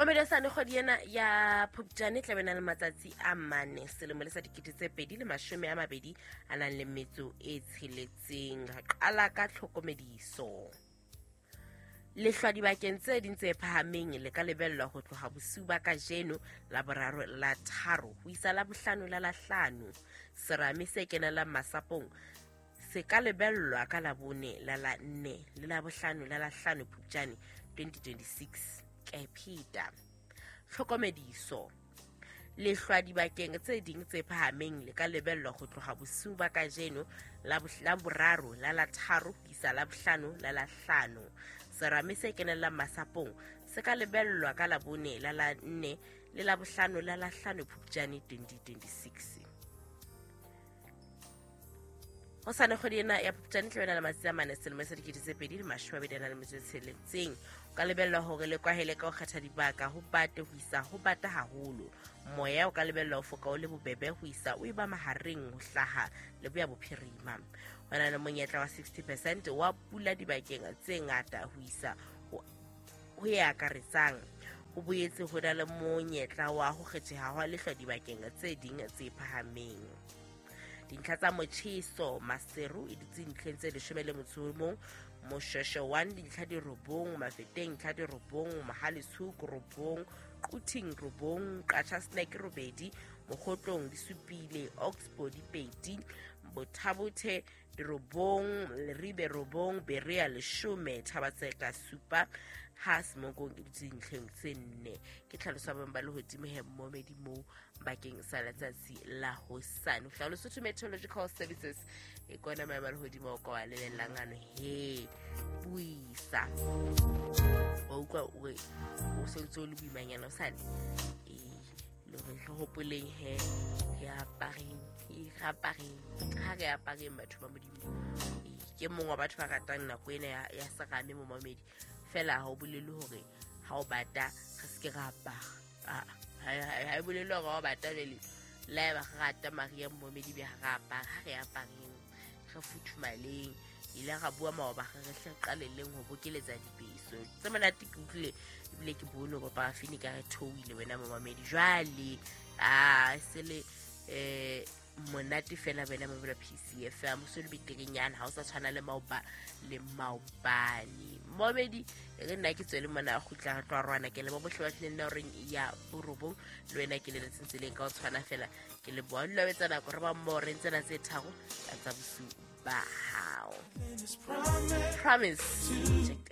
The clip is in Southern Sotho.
Mamedosane, kgwedi ena ya Phupjane e tlabe na le matsatsi a 4 selemo le sa 2026. Re qala ka tlhokomediso. Lehlwa dibakeng tse ding tse phahameng le ka lebellwa ho tloha bosiu ba kajeno la boraro la tharo ho isa la bohlano la lahlano. Serame se kenelang masapong se ka lebellwa ka la bone la la nne le la bohlano la lahlano Phupjane 2026. Ke pheta. Tlhokomediso. Lehlwa dibakeng tse ding tse phahameng le ka lebellwa ho tloha bosiu ba kajeno la boraro la la tharo ho isa la bohlano la lahlano. Serame se kenellang masapong se ka lebellwa ka la bone la la nne le la bohlano la lahlano Phupjane 2026. Ho sane kgwedi ena ya Phupjane tla bena le matsatsi a 4 selemo sa 2026. O ka lebellwa hore le kwahele ka ho kgetha dibaka ho bate ho isa ho bata haholo. Moya o ka lebellwa ho foka o le bobebe ho isa o eba mahareng ho hlaha le boya bophirima. Ho na le monyetla wa 60% wa pula dibakeng tse ngata ho isa ho e akaretsang. Ho boetse ho na le monyetla wa ho kgetheha hwa lehlwa dibakeng tse ding tse phahameng. Dintlha tsa motjheso Maseru e dutse ntlheng tse 11, Moshweshwe 1 dintlha di 9, Mafeteng ntlha di 9, Mohale's Hoek 9, Quthing 9, Qacha's Nek 8, Mokgotlong di 7, Oxbow di 2, Botha-Bothe di 9, Leribe 9, Berea 10, Thaba-Tseka 7, ha Semonkong e dutse ntlheng tse 4. Ke tlhaloso ya boemo ba lehodimo he momedi moo bakeng sa letsatsi la hosane. Ho hlaha Lesotho Meteorological Services e kona maemo a lehodimo o ka wa lebellang ano he buisa. Wa utlwa o re o sentse o le boimanyana hosane. Le hore re hopoleng he re apareng, re apareng, ha re apareng batho ba Modimo. Ke mong wa batho ba ratang nako ena ya serame momamedi. Fela ha o bolele hore ha o bata re se ke ra apara. Ha e bolele hore ha o bata jwale le haeba re rata Maria momedi be ha re apara, ha re apareng, re futhumaleng. Ile ra bua maoba re re hle re qalelleng ho bokeletsa dibeso tse monate. Ke utlwile ebile ke bone hore parafini ka re theohile wena momamedi. Jwale a se le monate fela wena mamela PCFM, o se le beterenyana, ha o sa tshwana le maoba le maobane. Momedi e re nna ke tswele mona kgutla re tlo rwana ke le bo bohle ba tlileng na horeng ya borobong le wena ke le letseng tseleng ka o tshwana fela ke le boa dula o etsa nako re ba mmoho re ntsena tse 3 ka tsa bosiu ba hao. Promise. Check.